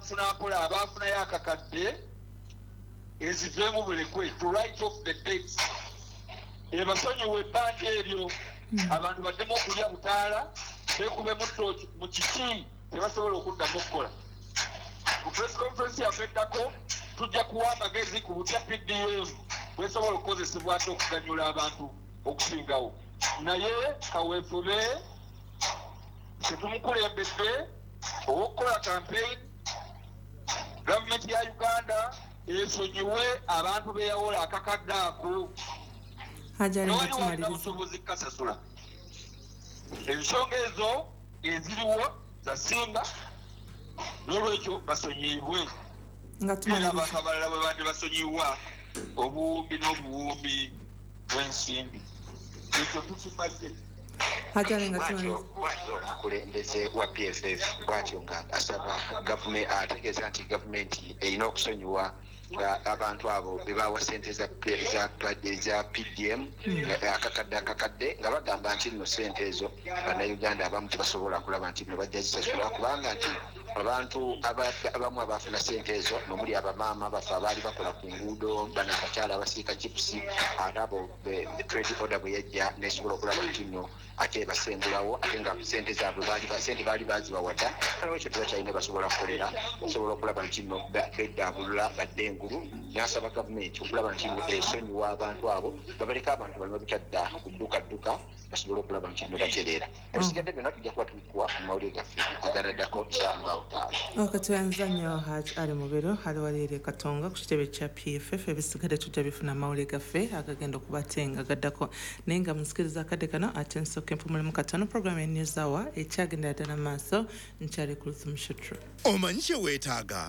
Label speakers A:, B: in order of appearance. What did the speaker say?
A: Mpola abaafunayo akakadde eziveemu bulekwe to write off the debts, ebasonyiwe ebbanja eryo, abantu baddemu okulya butaala, bekubemu tooki mu kiki tebasobola okuddamu okukola. Mu press conference yaffe eddako tujja kuwa amagezi ku butya PDM bwesobola okukozesebwa ate okuganyula abantu okusingawo. Naye kaweefube tetumukulembedde ow'okukola campaign, gavumenti ya Uganda esonyiwe abantu beyawola akakadde ako.
B: Hajali, nga
A: Tewali walina
B: tumaliriza.
A: busobozi kukasasula. Ensonga ezo eziriwo zasinga, n'olwekyo basonyiyibwe
B: Nga
A: era
B: tumaliriza.
A: abantu abalala bwe bandi basonyiwa obuwumbi n'obuwumbi bw'ensimbi. Ekyo tukimaze.
B: Hajali, nga
C: Bwatyo
B: tumaliriza.
C: Bwatyo omukulembeze wa PFF bwatyo nga asaba gavumenti, ategeeza nti gavumenti erina okusonyiwa abantu abo bebawa sente za PDM akakadde akakadde, nga bagamba nti nno sente ezo Bannayuganda abamu tebasobola kulaba nti nno bajja zisasula, kubanga nti abantu abamu abafuna sente ezo nomuli abamaama baffe abaali bakola ku nguudo, bano abakyala abasiika chipusi, ate abo trade order bwe yajja nesobola okulaba nti nno ate basengulawo, ate nga sente zaabwe sente baali bazibawadda, nolwekyo tebakyalina basobola kukolera, osobola okulaba nti nno beddaabulula badde engulu. Nasaba gavumenti okulaba nti nno esonyiwa abantu abo, babaleka abantu baleme butadda ku dduka dduka, basobole okulaba nti nno batereera. Ebisigadde byonna tujja kuba tubikuwa mu mawulire gaffe aganaddako 75.
B: Okatweyanza nnyo Haj Ali Mubiru, ali wali eri Katonga ku kitebe kya PFF. Ebisigadde tujja bifuna amawulire gaffe agagenda okubatenga gaddako. Naye nga munsikiriza akadde kano ate nsooka empumulemu katono. Program ya News Hour ekyagendera ddala maaso. Nkyali ku Luthum Shutru.
D: Omanyi kye weetaaga?